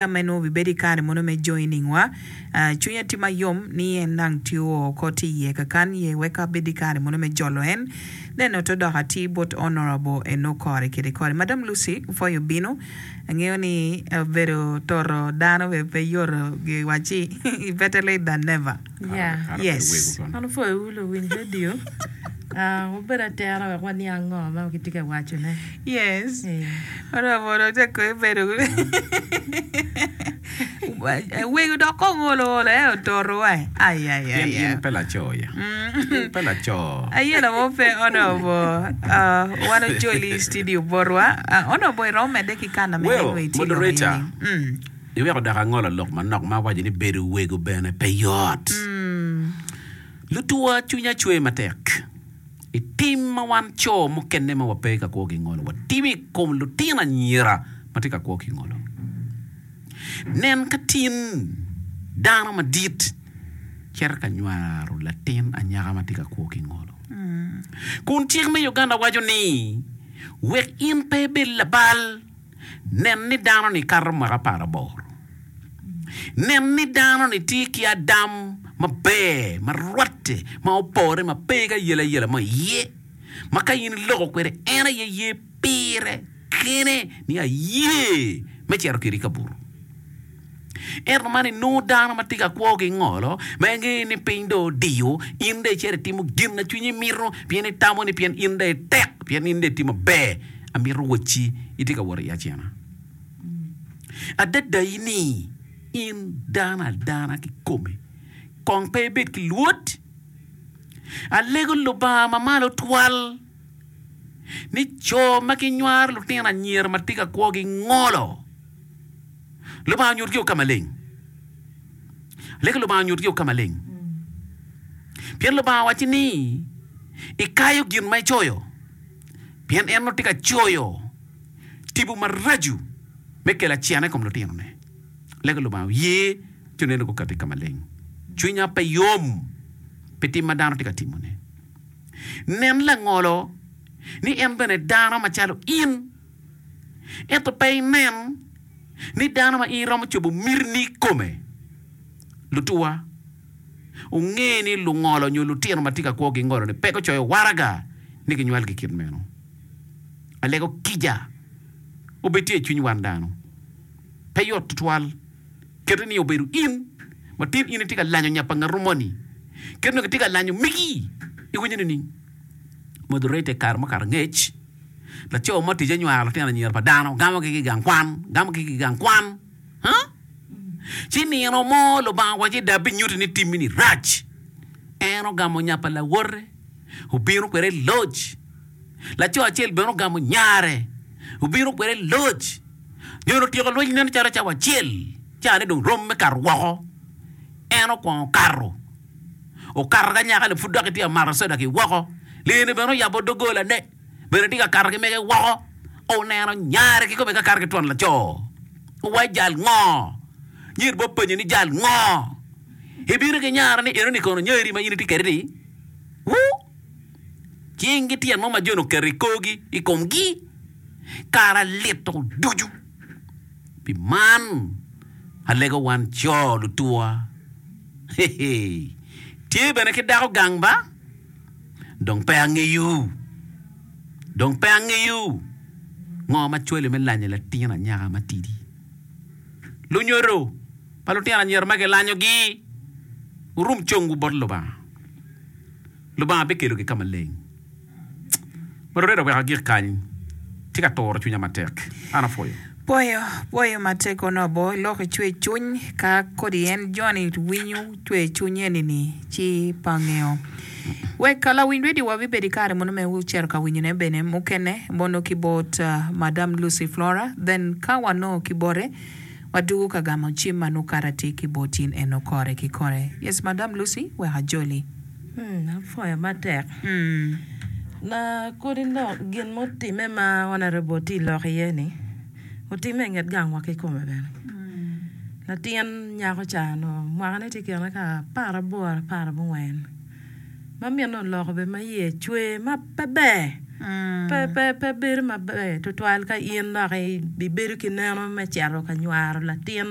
Ka meno obibedo i kare mono me joining wa, cwinya tye mayom ni en dang tye oo oko tye iye kakan ye wek abed i kare mono me jolo en. Then oto dok atir bot Honourable eno kore kede kore. Madam Lucy pwoyo bino, angeyo ni bedo toto dano bene pe yot giwacci better late than never. Yeah. Yes. An opwoyowu luwiny radio. Ah, wubed atera wek waniang ngo ma gitye ka wacone. Yes. Eh. Oromo dong te kong ibedo wego dok kong olo olo eh ototo wa. Ai ai Pien ai. in pe laco ya. In pe laco. Ayela mo pe honorable. Uh, wan ojoli i studio botwa. Uh, honorable iromo medde ki kana me Well, engo itye lok moderator. eni. Mm. Iweko dok angolo lok manok ma awaco ni bedo wego bene pe yot. Lutuwa cwinya cwer matek i tim ma wan co mukene ma wape ka kwo ki ngolo watimo i kom lutino anyira ma tye ka kwo ki ngolo. Nen ka tin dano madit cito ka nywaro latin anyaka ma tye ka kwo ki ngolo. Kun cik me Uganda waco ni wek in pe ibed labal, Nen ni dano-ni kato mwaka aparaboro. Nen ni dano-ni tye ki adam maber, ma rwatte, ma opore, ma pe ki ayelayela mo iye, ma ka in iloko kwede en aye ye pire kene ni aye me cito kwedi i kabuto. Ento man inongo dano ma tye ka kwo ki ngolo, ma ingeyo ni piny dong odiyo, in dong icito itimo gin ma cwinyi mito, pien itamo ni pien in dong itek, pien in dong itye maber, amito wacci itye ka wot i acena. Adada ni in dano adana kikome, kong pe ibed ki lwod. Alego Lubanga Mamalo Twal ni co ma ginywaro lutino anyira ma tye ka kwo gingolo. Lubanga onyut gio ka maleng. Lego Lubanga onyut gio ka maleng. Pien Lubanga owacci ni, Ikayo gin ma icoyo. Pien en onongo tye ka coyo tipo maraco me kelo acena i kom lutinone. Lego Lubanga oye ci oneno gukati ka maleng. Cwinya pe yom pi tim ma dano tye ka timone. Nen langolo ni en bene dano macalo in. Ento pe inen ni dano ma in iromo cobo mitini i kome. Lutuwa, wunge ni lungolo nyo lutino ma tye ka kwo gingolo-ni pe gucoyo waraga ni ginywalgi kit meno. Alego kica obed tye i cwiny wan dano. Pe yot tutwal. Kete ni obedo in ma tin in itye ka lanyo nya pa ngatu moni. Kit nongo itye ka lanyo megi, iwinyo nining? Moderator i kare mukato angec. Laco mo ticce nywaro lutino anyira pa dano, gamogi ki i gang kwan, gamogi ki i gang kwan. Huh? Ci nino mo Lubanga owacci dong abinyutti ni timmi-ni rac. En ogamo nya pa lawote, obino kwede i loc. Laco acel bene ogamo nyare, obino kwede i loc. Jo-ni otyeko lweny nen calo cawa acel, cawane dong rom me kato woko. En okwongo kato, okato ki anyaka-ni pud dok etye ka mato soda ki woko. Lee-ni bene oyabo doggolane. Bene tye ka kato ki mege woko, oneno nyare kikome ka kato ki twon laco. Owaco jal ngo? Nyer bene openye ni jal ngo? Ibino ki nyara ni enoni kono nyari ma in itye kwede ni? Wuu! Cing ki tyen mo ma joni oketo i korgi i komgi kara lito ducu. Pi man alego wan co lutuwa. Tye bene ki dako gang ba? Dong pe angeyo, dong pe angeyo ngo ma cwali me lanyo latin anyaka matidi. Lunyodo pa lutino anyira ma gilanyogi, wurum congwu bot Lubanga. Lubanga bikelogi ka maleng. Moderator wek agik kany, tye ka turo cwinya matek. An apwoyo. Pwoyo, pwoyo matek onobo iloko icwe cwiny ka kodi en joni winyo cwer cwiny eni ni ci pe angeyo. Wek lawiny radio wa bibedo ikare mono me cito ka winyo ne bene mukene mono ki bot madam Lucy Flora then ka wanongo ki bote wadugo ka gamo cim ma nongo kara tye ki bot in eno kore ki kore. Yes madam Lucy wek ajoli. Apwoyo matek. Na kodi lok gin mutimme ma Honourable tye lok iye ni otimme i nget gangwa kikome bene. Latin nyako ca onongo mwakane tye i kine ka aparaboro aparabongwen ma minne oloko bene ma iye cwer ma pe ber. Pe, pe, pe bedo maber tutwal ka in dok ibedo ki neno me cito ka nywaro latin.